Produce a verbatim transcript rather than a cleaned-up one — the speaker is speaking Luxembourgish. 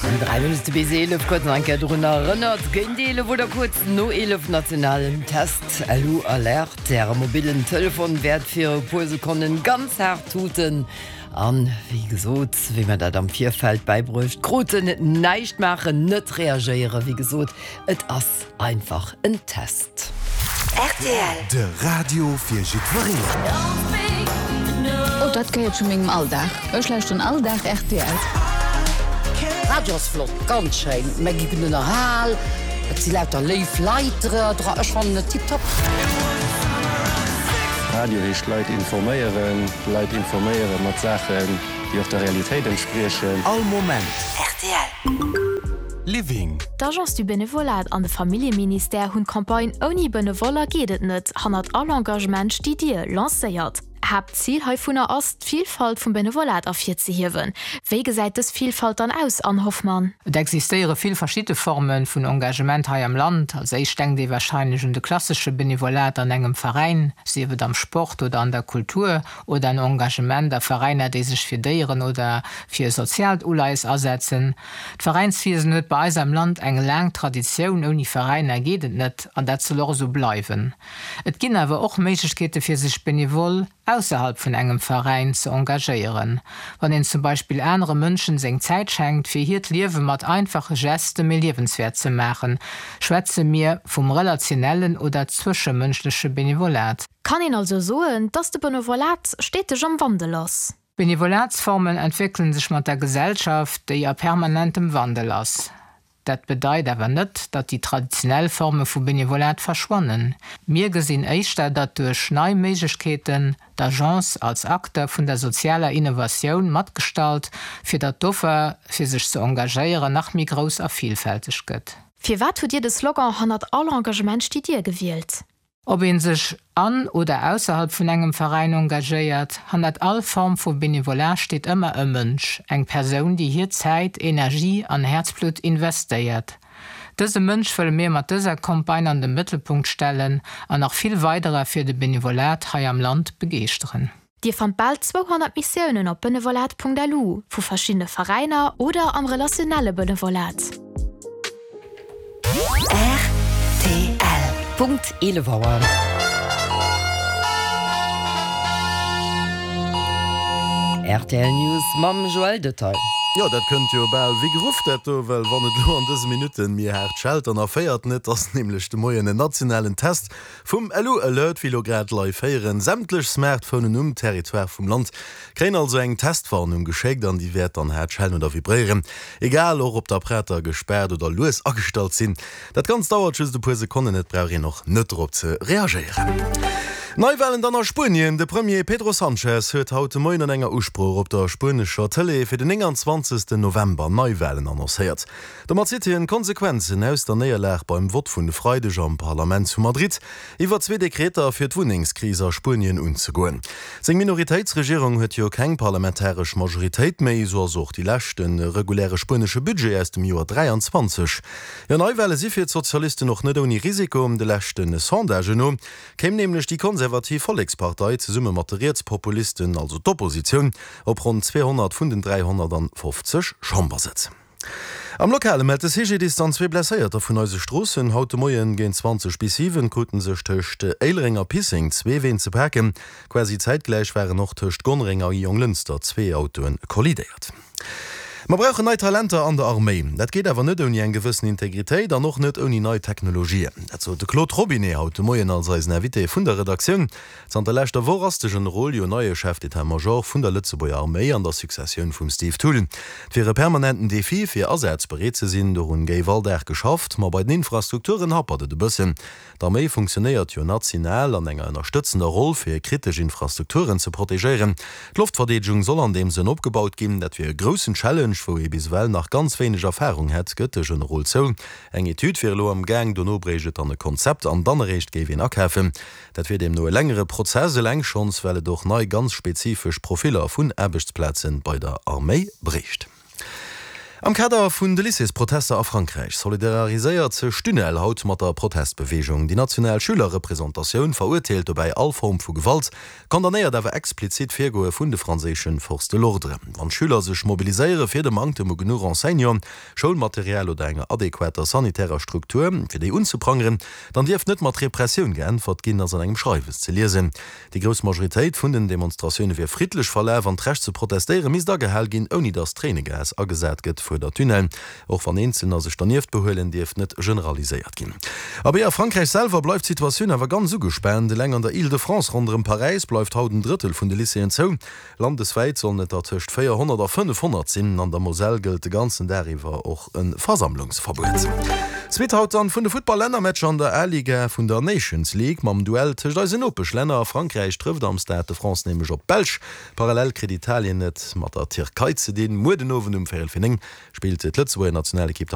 Dräi Minutte bis eelef, kuerz nach eng Kéier drun erënnert, géint eelef oder kuerz no eelef nationalen Test Lu Alert. Äre mobillen Telefon wäert fir e puer Sekonnen ganz haart tuten an, wéi gesot, wéi mer dat am Virfeld bäibruecht kruten, näischt maachen, net reagéieren, wéi gesot, et ass einfach en Test. Rtl. De Radio fir jiddwereen. Oh, dat gehéiert zu mengem Alldag. Ech lauschteren all Dag rtl. Radio ass flott, ganz schéin, mer gi gutt ënnerhal, et si lauter léif Leit dra, ech fannen et tiptop. Radio heescht Leit informéieren, Leit informéiere mat Saachen, déi och der Realitéit entspriechen. All Moment. Rtl. Living. D'Agence du Bénévolat an de Familljeministère hunn d'Campagne Ouni Benevoller geet et net, hannert all Engagement stitt Dir lancéiert. Haaptzil heivunner ass, d'Vilfalt vum Benevolat ervirzehiewen. Wéi gesäit dës Vilfalt dann aus, Anne Hoffmann? Et existéiere vill verschidde Forme vun Engagement hei am Land. Als éischt denkt ee warscheinlech un de klassesche Benevolat an engem Veräin, sief et am Sport oder an der Kultur, oder un Engagement a Veräiner, déi sech fir Déieren oder fir e soziaalt Uleies asetzen. D'Veräinswiesen huet bei eis am Land eng laang Traditioun, ouni Veräiner geet et net, an dat soll och esou bleiwen. Et ginn awer och Méiglechkeete fir sech benevol ausserhalb vun engem Veräin ze engagéieren. Wann een zum Beispill anere Mënschen seng Zäit schenkt, fir hiert Liewe mat einfache Geste méi liewenswäert ze maachen, schwätze mir vum relationellen oder zwëschemënschleche Benevolat. Kann een also soen, dass de Benevolat steteg am Wandel ass? Benevolatsformen entwéckele sech mat der Gesellschaft, déi a permanentem Wandel ass. Dat bedeit awer net, datt déi traditionell Forme vu Benevolat verschwannen. Mir gesinn éischter, datt duerch nei Méiglechkeeten d'Agence als Acteur vun der sozialer Innovatioun matgestalt, fir datt d'Offer fir sech ze engagéieren nach méi grouss a villfälteg gëtt. Firwat hutt Dir de Slogan Hannert all Engagement stitt Dir gewielt? Ob ee sech an oder ausserhalb vun engem Veräin engagéiert, hannert all Form vu Benevolat steet ëmmer e Mënsch, eng Persoun, déi hir Zäit, Energie an Häerzblutt investéiert. Dëse Mënsch wëlle mir mat dëser Campagne an de Mëttelpunkt stellen an nach vill weiderer fir de Benevolat hei am Land begeeschteren. Dir fannt bal zweehonnert Missiounen op benevolat Punkt lu vu verschiddene Veräiner oder am relationelle Benevolat. Rtl. Punkt eelef Auer. Rtl News mam Joël Detail. Jo, dat kënnt jo bal wéi geruff dat do, well wann et elo an dëse Minutten méi haart schellt, dann erféiert net, ass nämlech de Moien en nationalen Test vum Lu Alert, wéi lo grad live héieren. Sämtlech Smartphonen um Territoire vum Land kréien also eng Testwarnung geschéckt an déi wäert dann haart schellen oder vibréieren, egal och ob d'Apparater gespaart oder lues agestallt sinn. Dat Ganzt dauert just e puer Sekonnen, et brauch een och net drop ze reagéieren. Neiwalen dann a Spuenien, De Premier Pedro Sanchez huet haut de Moien an enger Usprooch op der spuenescher Tëlee fir den nénganzwanzegsten November Neiwalen annoncéiert. Domat zitt hien d'Konsequenzen aus der Néierlag beim Vott vun e Freideg am Parlament zu Madrid iwwer zwee Dekreter fir d'Wunnengskris a Spuenien unzegoen. Seng Minoritéitsregierung huet jo keng parlamentaresch Majoritéit méi, esou ass och déi lescht de reguläre spuenesche Budget aus dem Joer dräianzwanzeg. Jo, Neiwale si fir d'Sozialisten och net ouni Risiko. De leschte Sondagen no kéim nämlech déi konservativ Vollekspartei zesumme mat de Rietspopulisten, also d'Oppositioun, op ronn zweehonnert vun den dräihonnertfofzeg Chambersëtz. Am Lokale mellt de C G D I S dann zwee Blesséierter vun eise Stroossen. Haut de Moien géint zwanzeg bis siwen krute sech tëscht Éilereng a Pisseng zwee Ween ze paken. Quasi zäitgläich waren och tëscht Gonnereng a Jonglënster zwee Autoe kollidéiert. Mer brauchen nei Talenter an der Arméi. Dat geet awer net ouni eng gewëssen Integritéit an och net ouni nei Technologien. Dat sot de Claude Robinet haut de Moien als eisen Invité vun der Redaktioun. Zanter leschter Woch ass de Generol jo neie Chef d'état-major vun der Lëtzebuerger Arméi an der Successioun vum Steve Thull. Et wier e permanenten Defi fir asazbereet ze sinn, dorun géif all Dag geschafft, ma bei den Infrastrukturen happert et e bëssen. D'Arméi funktionéiert jo national an enger ënnerstëtzender Roll fir kritesch Infrastrukturen ze protegéieren. D'Loftverdeedegung soll an deem Sënn opgebaut ginn. Dat wier e groussen Challenge, wou ee bis ewell nach ganz wéineg Erfarung hätt, gëtt de Generol zou. Eng Etüd wier elo am Gaang, dono bréicht et dann e Konzept an dann eréischt géif een akafen. Dat wier deemno e längere Prozess, eleng schonns well et och nei ganz spezifesch Profiller vun Aarbechtsplaze bei der Arméi bréicht. Am Kader vun de Lycéesprotester a Frankräich solidariséiert sech d'UNEL haut mat der Protestbeweegung. Déi national Schülerrepresentatioun verurteelt dobäi all Form vu Gewalt, condamnéiert awer explizit d'Virgoe vun de franséische Forces de l'ordre. Wann d'Schüler sech mobiliséiere fir de Manktem u genuch Enseignanten, Schoulmaterial oder enger adequater sanitärer Struktur, fir déi unzeprangeren, dann dierft net mat Repressioun geäntwert ginn, ass an engem Schreiwes ze liesen. Déi grouss Majoritéit vun den Demonstratioune wier friddlech verlaf an d'Recht ze protestéiere misst agehal ginn, ouni datt Tréinegas agesat gëtt, fuerdert d'UNEL. Och wann Eenzelner sech dernieft behuelen, dierft net generaliséiert ginn. Abee, a Frankräich selwer bleift d'Situatioun awer ganz ugespaant. Eleng an der Île-de-France ronderëm Paräis bleift haut en Drëttel vun de Lycéeën zou. Landeswäit sollen et der tëscht véierhonnert a fënnefhonnert sinn. An der Moselle gëllt de ganzen Dag iwwer och e Versammlungsverbuet. Suite haut dann vun de Futtball-Lännermatcher an der A-Liga vun der Nations League mam Duell tëscht eisen Nopeschlänner. Frankräich trëfft am Stade de France nämlech op d'Belsch. Parallel kritt Italien et mat der Tierkei ze dinn. Muer den Owend um véierel vir néng spillt d'Lëtzebuerger Nationalekipp dann.